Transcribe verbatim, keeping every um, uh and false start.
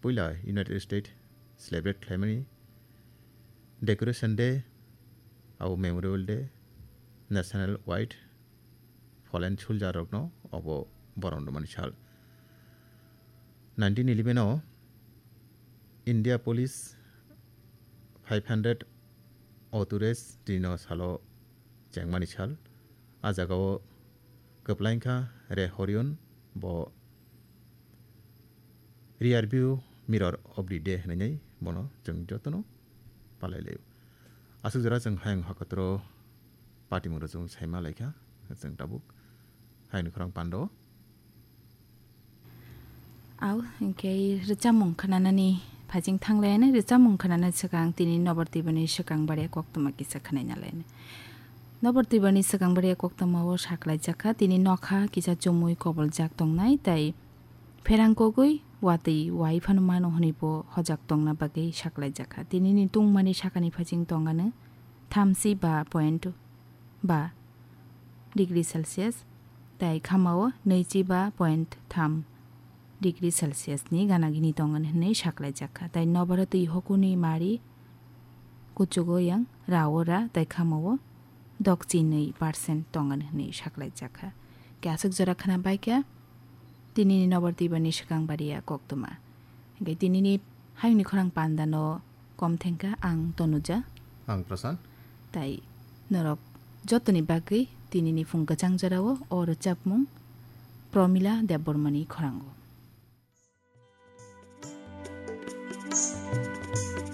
puila United States celebrate khlaimani Decoration Day, abo Memorial Day, National White Fallen Soldier rokno obo borom rwmani sal. Nineteen eleven o India Police five hundred Outrage Dino salo chengmani sal. A jagao kwplaingkha Re Horion, bo rear view mirror of the day hinwi bono chwng jotono palai laio. Aswk jora chwng hayung hakotoro patimung rwchung saima laikha chwng tabuk hayungni khorang pando. Au, hwnkhe rwchapmung khwnanani phaising thanglainai, rwchapmung khwnanani swkang tini Nobar Twibani swkang baria koktwma kisa khwnaina lainai. Nobar Twibani swkang baria koktwmao saklaijak kha, tini nokha kisa chumui koboljak tongnai, tai pherang kogwi watwi wai phano mano hwnwi bo hojak tongna bagwi saklaijak kha. Tinini tungmani sakani phaising tongano thamsi ba point ba degree Celsius, tai khamao nwichi ba point tham degree Celsius ni gana gini tongo hinwi saklaijak kha. Tai nobaro twi hokuni mari kuchugo yang rao ra tai khamao dokchinwi percent tongo hinwi saklaijak kha. Khe aswk jora khwna bai kha tinini Nobar Twibani swkang baria koktwma. Hingke tinini hayungni khorang pandano kom thengkha ang Tonuja. Ang Prasant. Tai norok jotoni bagwi tinini phung kwchang jorao o rwchapmung Promila Debbarmani khorango.